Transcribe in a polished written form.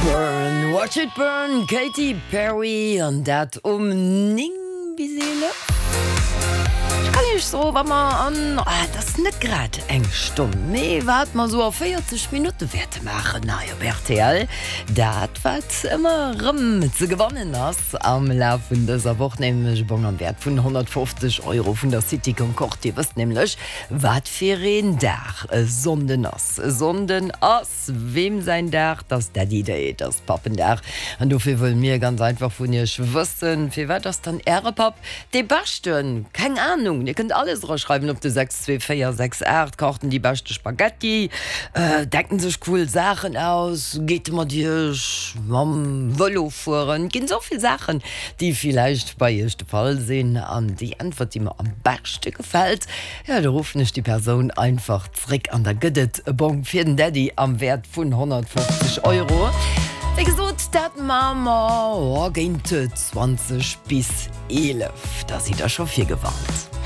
Burn, watch it burn, Katy Perry, an dat um 9 bis 11. Ech kann iech soen, wa mer an, ah, et ass net grad eng Stonn, mee wat mer esou a 40 Minutte wäerte maachen hei op rtl, dat wat ëmmer erëm ze gewannen ass am Laf vun dëser Woch, nämlech e Bong am Wäert vun 150 Euro vun der City Concorde. Dir wësst nämlech, wat fir een Dag e Sonnden ass. E Sonnden ass. Weem säin Dag? 't ass Daddy Day, 't ass Pappendag. An dofir wëlle mir ganz einfach vun iech wëssen, Firwat ass dann äre Papp dee Beschten? Keng Anung, dir kënnt alles eraschreiwen op de 62468. Kacht en déi beschte Spaghetti? Denkt en sech cool Saachen aus? Geet e mat iech mam Vëlo fueren? Et ginn esou vill Saachen, déi villäicht bei iech de Fall sinn. An déi Äntwert, déi mer am beschte gefält, jo, do ruffen ech déi Persoun einfach Zréck an da gëtt et e Bong fir den Daddy am Wäert vun 150 Euro. Wéi gesot, dat maache mer géint 20 bis 11. Da sidd der scho virgewarnt.